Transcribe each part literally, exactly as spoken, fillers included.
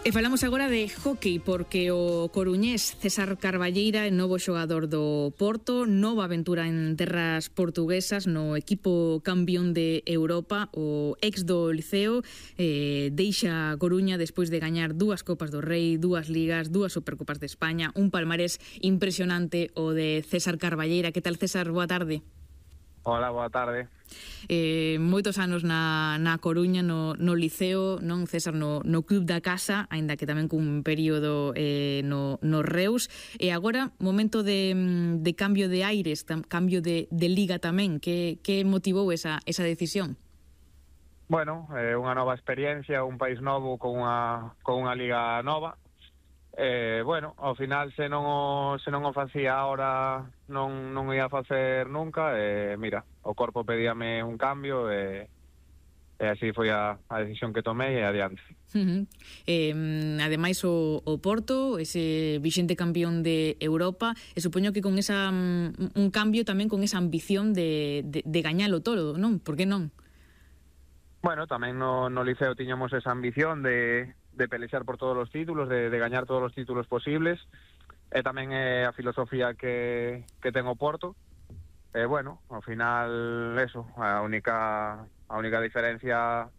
E falamos agora de hockey, porque o coruñés César Carballeira é novo xogador do Porto, nova aventura en terras portuguesas no equipo campeón de Europa. O ex do Liceo eh, deixa Coruña despois de gañar dúas Copas do Rei, dúas Ligas, dúas Supercopas de España, un palmarés impresionante o de César Carballeira. Que tal, César? Boa tarde. Hola, boa tarde. Eh, moitos anos na, na Coruña, no, no Liceo, non, César, no, no club da casa, aínda que tamén cun período eh, no, no Reus, e agora momento de, de cambio de aires, tam, cambio de, de liga tamén. Que, que motivou esa, esa decisión? Bueno, eh, unha nova experiencia, un país novo con unha, con unha liga nova. Eh, bueno, ao final se non o, se non o facía ahora non, non ia facer nunca. E mira, o corpo pedíame un cambio e, e así foi a, a decisión que tomei e adiante. Uh-huh. eh, Ademais o, o Porto, ese vixente campeón de Europa, e supoño que con esa un cambio tamén con esa ambición de, de, de gañalo todo, non? Por que non? Bueno, tamén no, no Liceo tiñamos esa ambición de de pelexar por todos os títulos, de, de gañar todos os títulos posibles, e tamén é a filosofía que, que ten o Porto. E bueno, ao final, eso, a única a única diferencia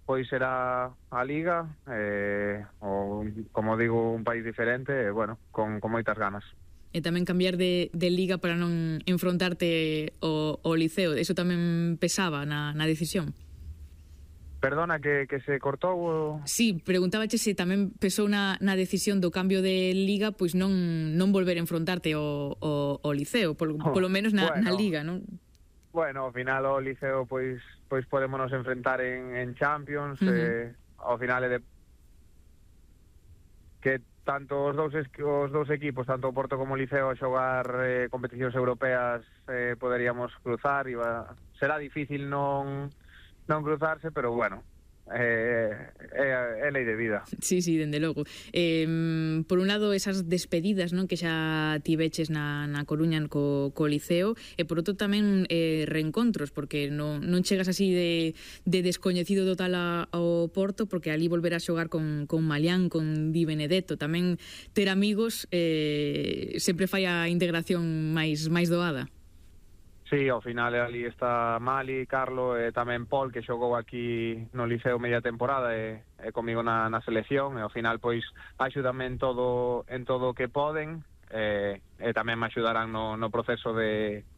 pois será a Liga, e, o, como digo, un país diferente, e bueno, con, con moitas ganas. E tamén cambiar de, de liga para non enfrontarte ao, ao Liceo, eso tamén pesaba na, na decisión? Perdona, que, que se cortou o... Sí, preguntábache se tamén pesou na, na decisión do cambio de liga, pois non non volver a enfrontarte ao, ao, ao Liceo, polo, oh, polo menos na, bueno, na liga, non? Bueno, ao final o Liceo pois pois podémonos enfrentar en, en Champions. Uh-huh. eh, ao final é de que tanto os dous os dous equipos, tanto o Porto como o Liceo, a xogar eh, competicións europeas, eh, poderíamos cruzar. Iba, será difícil non non cruzarse, pero bueno, é, é, é lei de vida. Sí, sí, dende logo. Eh, por un lado, esas despedidas, non, que xa tiveches na, na Coruña co, co Liceo, e por outro tamén eh, reencontros, porque non, non chegas así de, de descoñecido total a, ao Porto, porque ali volverás xogar con, con Malián, con Di Benedetto. Tamén ter amigos eh, sempre fai a integración máis, máis doada. Sí, ao final ali está Mali, Carlo e tamén Paul, que xogou aquí no Liceo media temporada e, e comigo na, na selección, e ao final pois axúdame en todo en todo o que poden, e, e tamén me axudarán no, no proceso de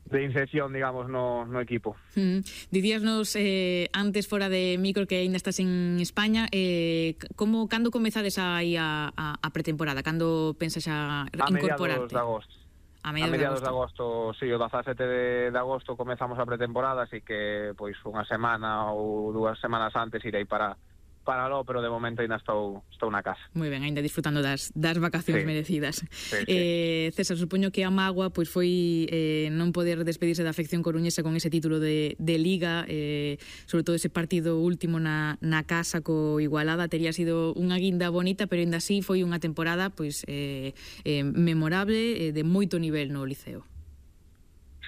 de inserción, digamos, no, no equipo. Mm. Dicíasnos eh, antes fora de micro que aínda estás en España, eh, como, cando comezades aí a, a, a pretemporada? Cando pensas a incorporarte? A mediados de agosto. A mediados, a mediados de agosto, de agosto, sí, o dezasete de, de agosto comezamos a pretemporada, así que pois unha semana ou dúas semanas antes irei para para lo, pero de momento ainda estou estou na casa. Moi ben, ainda disfrutando das, das vacacións, sí, merecidas. Sí, sí. Eh, César, supoño que a mágoa pois foi eh, non poder despedirse da afección coruñesa con ese título de, de Liga, eh, sobre todo ese partido último na, na casa co Igualada. Tería sido unha guinda bonita, pero ainda así foi unha temporada pois eh, eh, memorable, eh, de moito nivel no Liceo.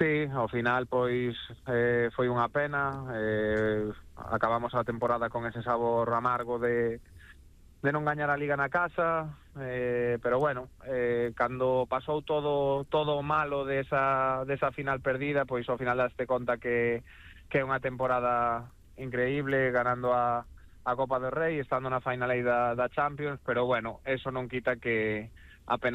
Sí, ao final pois eh, foi unha pena. eh, acabamos a temporada con ese sabor amargo de, de non gañar a Liga na casa, eh, pero bueno, eh, cando pasou todo todo o malo desa, desa final perdida, pois ao final daste conta que, que é unha temporada increíble, ganando a, a Copa do Rei, estando na final aí da, da Champions, pero bueno, eso non quita que a pena